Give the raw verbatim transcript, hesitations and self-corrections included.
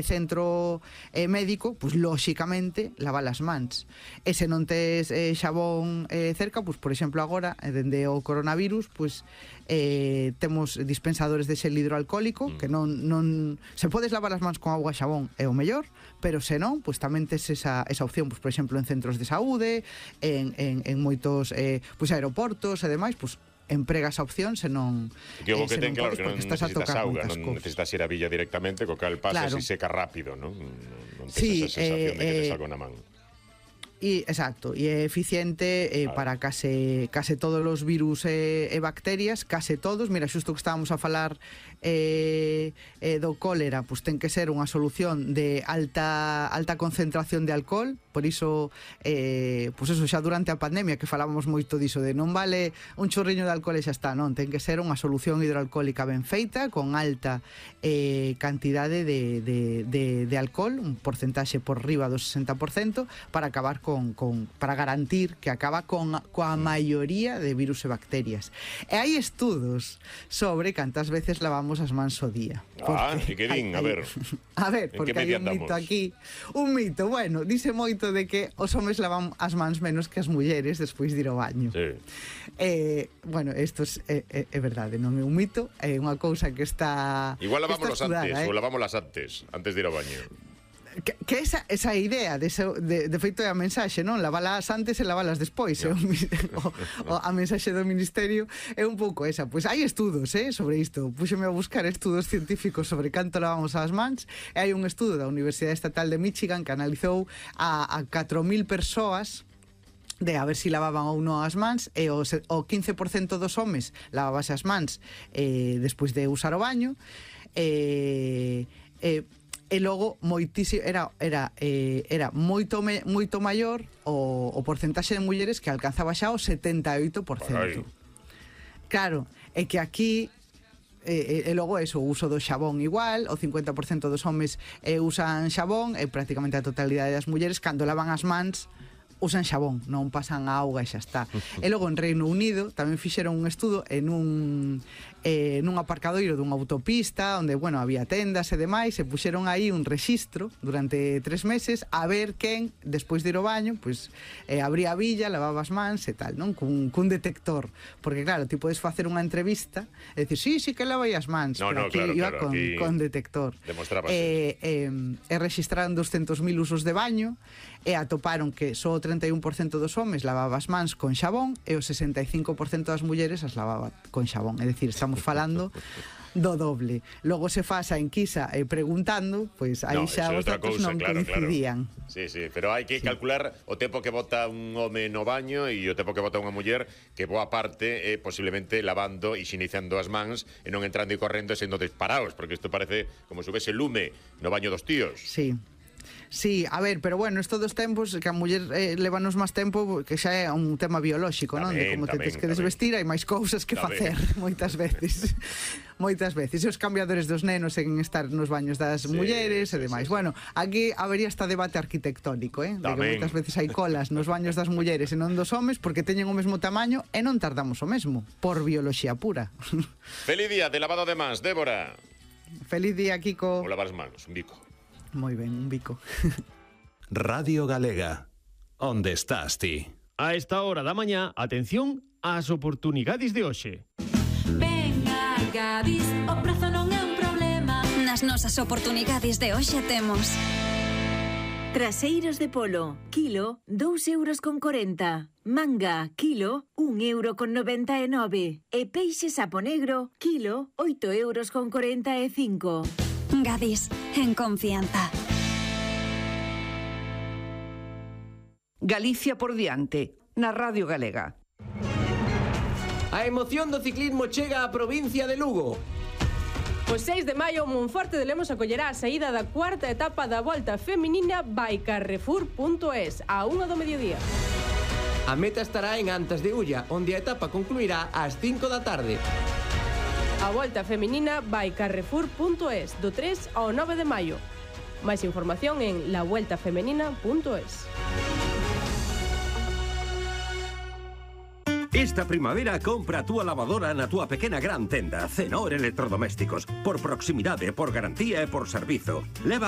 centro eh, médico, pois lóxicamente lava as mans. E se non tes eh, xabón eh, cerca, pois por exemplo agora, eh, dende o coronavirus, pois eh, temos dispensadores de xel hidroalcohólico mm. que non, non se podes lavar as mans con auga e xabón é o mellor, pero se non, pois tamén tes esa, esa opción, pois por exemplo en centros de saúde, en, en, en moitos eh, pois aeroportos e demais, pois emprega esa opción se non que o que eh, ten claro que non necesitas auga, non cosas. necesitas ir a villa directamente, co cal pasas claro. E seca rápido, non? Non tens sí, esa sensación eh, de que tes eh, algo na man. E, exacto, e é eficiente eh, para case, case todos os virus e, e bacterias, case todos. Mira, xusto que estábamos a falar eh, eh, do cólera, pois ten que ser unha solución de alta alta concentración de alcohol. Por iso, eh, pois eso, xa durante a pandemia que falábamos moito diso de non vale un chorriño de alcohol e xa está, non, ten que ser unha solución hidroalcohólica ben feita, con alta eh, cantidade de, de, de, de alcohol, un porcentaxe por riba do sesenta por cento, para acabar Con, con, para garantir que acaba con coa maioría de virus e bacterias. E hai estudos sobre cantas veces lavamos as mans ao día. Ah, e que din, a ver. A ver, porque hai un mito aquí. Un mito, bueno, dice moito de que os homes lavan as mans menos que as mulleres despois de ir ao baño. Sí. Eh, bueno, isto é, é, é verdade, non é un mito, é unha cousa que está igual lavámonos antes, eh? ou lavámolas antes, antes de ir ao baño. Que, que esa, esa idea de, ese, de, de feito é a mensaxe, non? Lavalas antes e lavalas despois, no. o, o, a mensaxe do Ministerio é un pouco esa. Pois hai estudos eh, sobre isto. Púxeme a buscar estudos científicos sobre canto lavamos as mans, e hai un estudo da Universidade Estatal de Michigan que analizou a, a catro mil persoas de a ver si lavaban ou non as mans, e o, o quince por cento dos homes lavabase as mans eh, despois de usar o baño, e... Eh, eh, e logo moitísimo era era eh, era moito me, moito maior o, o porcentaxe de mulleres que alcanzaba xa o setenta e oito por cento. Claro, é que aquí e, e logo eso, o uso do xabón igual, o cincuenta por cento dos homes eh, usan xabón, e prácticamente a totalidade das mulleres cando lavan as mans usan xabón, non pasan a auga e xa está. E logo en Reino Unido tamén fixeron un estudo en un eh, nun aparcadoiro dunha autopista onde, bueno, había tendas e demais, e puxeron aí un rexistro durante tres meses a ver quen, despois de ir ao baño, pois eh, abría a billa, lavaba as mans e tal, non? Cun, cun detector, porque claro, ti podes facer unha entrevista e dicir, sí, sí que lavai as mans, no, no, pero aquí claro, iba claro, con, aquí con detector. Demostraba e, e, e registraron doscientos mil usos de baño, e atoparon que só o trinta e un por cento dos homes lavaba as mans con xabón e o sesenta e cinco por cento das mulleres as lavaba con xabón. É dicir, estamos falando do doble. Logo se faz a enquisa e preguntando, pois aí no, xa os datos non claro, coincidían. Claro. Sí, sí, pero hai que sí. calcular o tempo que bota un home no baño e o tempo que bota unha muller, que boa parte é posiblemente lavando e xinizando as mans e non entrando e correndo e sendo disparados, porque isto parece como se houvese lume no baño dos tíos. Sí. Sí, a ver, pero bueno, estos dos tempos que a muller eh, levanos máis tempo, que xa é un tema biolóxico, non? De como te tens que desvestir, hai máis cousas que facer moitas veces. Moitas veces. E os cambiadores dos nenos en estar nos baños das sí, mulleres e demais. Sí, sí. Bueno, aquí habería esta debate arquitectónico, eh? De que moitas veces hai colas nos baños das mulleres e non dos homes porque teñen o mesmo tamaño e non tardamos o mesmo, por bioloxía pura. Feliz día de lavado de mans, Débora. Feliz día, Kiko. O lavar as manos, un bico. Moi ben, un bico. Radio Galega, onde estás ti? A esta hora da mañá, atención ás oportunidades de hoxe. Venga, Gadis, o prezo non é un problema. Nas nosas oportunidades de hoxe temos traseiros de polo, kilo, dous euros con corenta. Manga, kilo, un euro con noventa e nove. E peixe sapo negro, kilo, oito euros con corenta e cinco. Gadis, en confianza. Galicia por diante, na Radio Galega. A emoción do ciclismo chega á provincia de Lugo. O seis de maio, Monforte de Lemos acollerá a saída da cuarta etapa da Volta Feminina by Carrefour punto es a unha do mediodía. A meta estará en Antas de Ulla, onde a etapa concluirá ás cinco da tarde. A Volta Feminina by Carrefour punto es, do tres ao nove de maio. Máis información en la vuelta femenina punto es. Esta primavera compra a túa lavadora na túa pequena gran tenda Cenor Electrodomésticos. Por proximidade, por garantía e por servizo. Leva